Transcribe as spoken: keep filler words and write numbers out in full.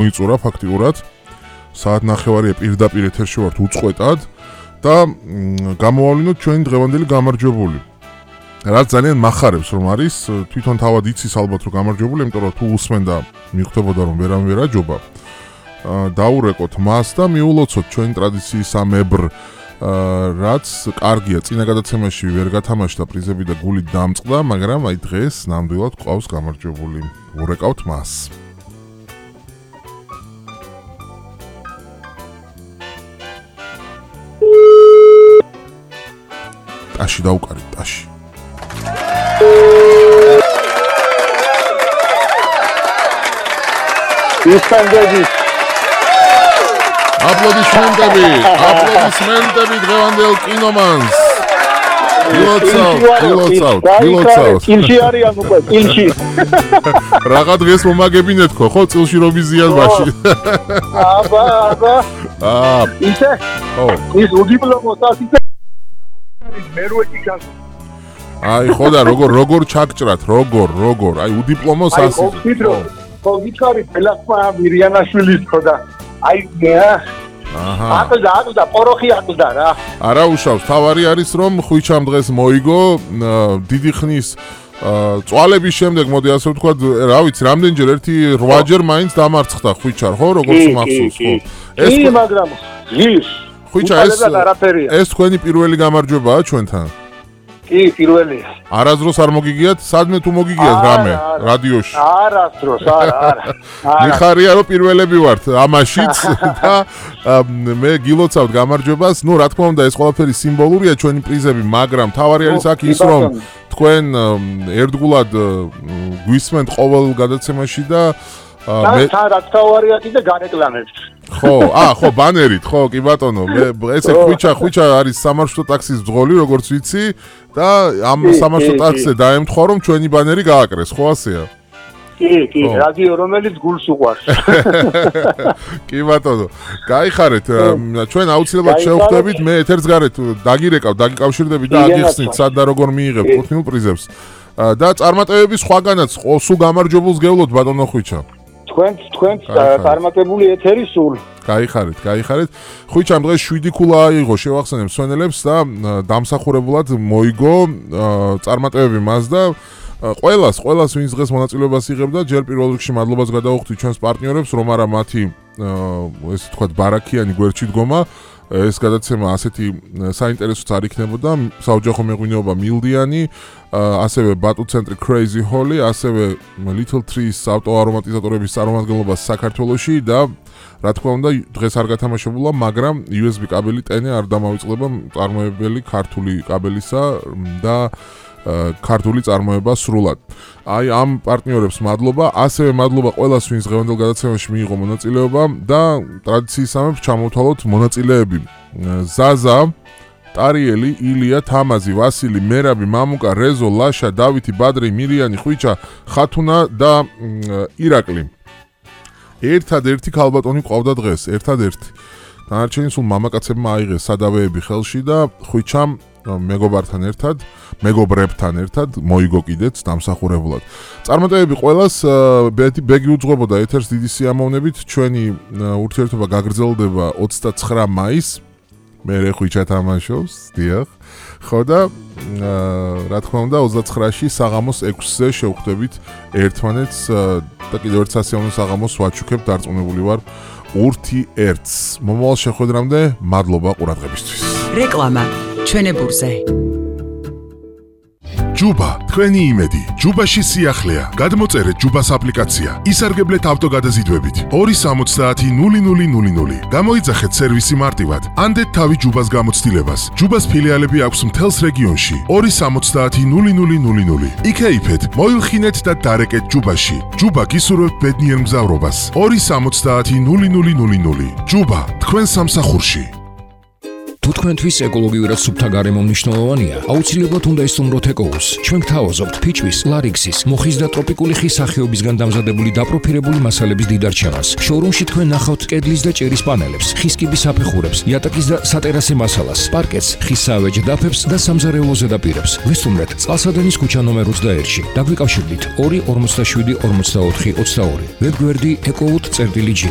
მოიწურა ფაქტიურად. საათ ნახევარია პირდაპირ ეთერში ვართ უწყვეტად და გამოვავლინოთ ჩვენი დღევანდელი გამარჯვებული. რაც ძალიან მახარებს რომ არის, თვითონ თავად იცის ალბათ რომ გამარჯვებული, იმიტომ რომ თუ უსმენდა მიხვდებოდა რომ ვერამ ვერ აჯობა. დაურეკოთ მას და მიულოცოთ ჩვენი ტრადიციის ამ ებრ რაც კარგია, წინა გადაცემაში ვერ გათამაშდა პრიზები და გულით დამწყდა, მაგრამ აი დღეს ნამდვილად ყავს გამარჯვებული. ურეკავთ მას. ტაში დაუკარით, ტაში. ისკანდები აპლოდისმენტები, აპლოდისმენტები დღევანდელ კინომანს. გილოცავთ, გილოცავთ, გილოცავთ. წილში არიან უკვე, წილში. რაღა დღეს მომაგებინეთ ხო, ხო, წილში რომ იზიან მაშინ. აბა, აბა. აა. ისე? ო. ის უდიპლომოს ასიცე. მე როეთი გას. აი, ხო და როგორ როგორ ჩაგჭრათ, როგორ, როგორ. აი, უდიპლომოს ასიცე. აი, ხო, ხო, გითხარი, ბელასმა მირიანაშვილის ხო და აი, აჰა. აკდა, აკდა, პოროხი აკდა რა. არა უშავს, თავარი არის რომ ხვიჩამ დღეს მოიგო, დიდი ხნის წვალების შემდეგ, მოდი ასე ვთქვა, რა ვიცი, რამდენჯერ ერთი რვაჯერ მაინც დამარცხდა ხვიჩარ, ხო, როგორც მახსოვს, ხო. ეს კი, მაგრამ ის ხვიჩა ეს ეს თქვენი პირველი გამარჯვებაა ჩვენთან? კი, პირველია. არასდროს არ მოგიგიათ? სადმე თუ მოგიგიათ რამე რადიოში? არასდროს, არა, არა. მიხარია რომ პირველები ვართ ამაშიც და მე გილოცავთ გამარჯვებას. ნუ რა თქმა უნდა ეს ყველაფერი სიმბოლურია ჩვენი პრიზები, მაგრამ თავარი არის აქ ის რომ თქვენ ერთგულად გვისმენთ ყოველ გადაცემაში და მე რაც თავარია კიდე განეკლამებთ. ხო, აა, ხო, ბანერით, ხო, კი ბატონო, მე ესე ხვიჩა, ხვიჩა არის სამარშრუტო ტაქსის ძღოლი, როგორც ვიცი და ამ სამარშრუტო ტაქსზე დაემთხვა რომ ჩვენი ბანერი გააკრეს, ხო ასეა? კი, კი, რადიო რომელიც გულს უყვარს. კი ბატონო, გაიხარეთ, ჩვენ აუცილებლად შევხვდებით, მე ეთერს გარეთ დაგირეკავ, დაგიკავშირდებით და აგიხსნით სად და როგორ მიიღებთ კუთვნილ პრიზებს. და წარმატებების სხვაგანაც სულ გამარჯვებულს გევლოთ ბატონო ხვიჩა. თქვენ თქვენ წარმატებული ეთერი სულ. გაიხარეთ, გაიხარეთ. ხვიჩამ დღეს შვიდი ქულა აიღო, შევახსენებ მსვენელებს და დამსახურებულად მოიგო წარმატებები მას და ყველას, ყველას ვინც დღეს მონაწილეობას იღებდა, ჯერ პირველ რიგში მადლობას გადავუხდით ჩვენს პარტნიორებს, რომ არა მათი ესე ვთქვათ ბარაქიანი გვერდში დგომა. ეს გადაცემა ასეთი საინტერესოც არ იქნებოდა, საოჯახო მეღვინეობა მილდიანი, ასევე ბატუ ცენტრი Crazy Holly, ასევე Little Trees ავტოარომატიზატორების წარმომადგენლობა საქართველოში და რა თქმა უნდა დღეს არ გათამაშებულა, მაგრამ იუ ეს ბი კაბელი ტენე არ დამავიწყდება წარმოებელი ქართული კაბელისა და ქართული წარმოება სრულად. აი ამ პარტნიორებს მადლობა, ასევე მადლობა ყველას, ვინც დღევანდელ გადაცემაში მიიღო მონაწილეობა და ტრადიციისამებრ ჩამოვთვალოთ მონაწილეები. ზაზა, ტარიელი, ილია, თამაზი, ვასილი, მერაბი, მამუკა, რეზო, ლაშა, დავითი, ბადრი, მირიანი, ხვიჩა, ხათუნა და ირაკლი. ერთადერთი ქალბატონი ყავდა დღეს, ერთადერთი. დანარჩენი სულ მამაკაცებმა აიღეს სადავეები ხელში და ხვიჩამ მეგობართან ერთად, მეგობრებთან ერთად მოიგო კიდეც დამსახურებულად. წარმატებები ყველას, ბეგი უძღვებოდა ეთერს დიდი სიამოვნებით, ჩვენი ურთიერთობა გაგრძელდება ოცდაცხრა მაისს. მე რე ხვიჩა თამაშობს, დიახ. ხო და რა თქმა უნდა ოცდაცხრაში საღამოს ექვსზე შევხვდებით ერთმანეთს და კიდევ ერთ სასიამოვნო საღამოს ვაჩუქებ, დარწმუნებული ვარ ურთი ერთს. მომავალ შეხვედრამდე მადლობა ყურადღებისთვის. რეკლამა ჩვენებურზე. ჯუბა, თქვენი იმედი. ჯუბაში სიახლეა. გადმოწერეთ ჯუბას აპლიკაცია. ისარგებლეთ ავტოგადაზიდვებით. ორი სამოცდაათი ნული ნული ნული ნული. გამოიძახეთ სერვისი მარტივად. ანდეთ თავი ჯუბას გამოცდილებას. ჯუბას ფილიალები აქვს მთელს რეგიონში. ორი სამოცდაათი ნული ნული ნული ნული. იქეიფეთ, მოილხინეთ და დარეკეთ ჯუბაში. ჯუბა გისურვებთ ბედნიერ მგზავრობას. ორი სამოცდაათი ნული ნული ნული ნული. ჯუბა, თქვენ სამსახურში. თუ თქვენთვის ეკოლოგიურად სუფთა გარემო მნიშვნელოვანია, აუცილებლად უნდა ისწავლოთ ეკოუს. ჩვენ გთავაზობთ ფიჭვის, ლარიქსის, მოხის და ტროპიკული ხის სახეობისგან დამზადებული დაპროფილებული მასალების დიდარჩევას. შოურუმში თქვენ ნახავთ კედლის და ჭერის პანელებს, ხის კიბის აფეხურებს, იატაკის და სატერასე მასალას, პარკეტს, ხის საავეჯ დაფებს და სამზარეულო ზედაპირებს. ვესტუმრეთ წყალსადენის ქუჩა ნომერ ოცდაერთში. დაგვიკავშირდით ორი ორმოცდაშვიდი ორმოცდაოთხი ოცდაორი. ვებგვერდი ecowood.gi